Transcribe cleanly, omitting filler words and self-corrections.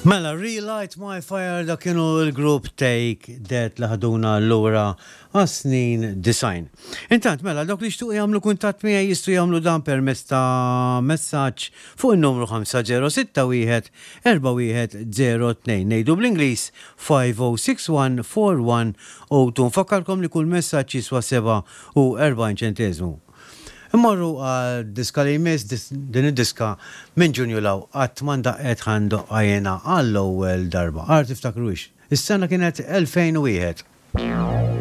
Mela, Relight My Fire dak kienu l-grupp Take That li ħaduna lura għas-snin 90. Intant, mela, dawk li jixtiequ jagħmlu kuntatt miegħi jistgħu jagħmlu dan permezz ta' messaġġ fuq in-numru 5061 4102. Ngħidu bl-Ingliż 5061 4102. Nfakkarkom li kull messaġġ jiswa 47 ċenteżmu. Immorru għal diska li jmiss, din id-diska minn Ġunju 'l hawn qatt ma ndaqqet ħa ndoqqha jiena għall-ewwel darba. Ara tiftakruhiex. Is-sena kienet 2001.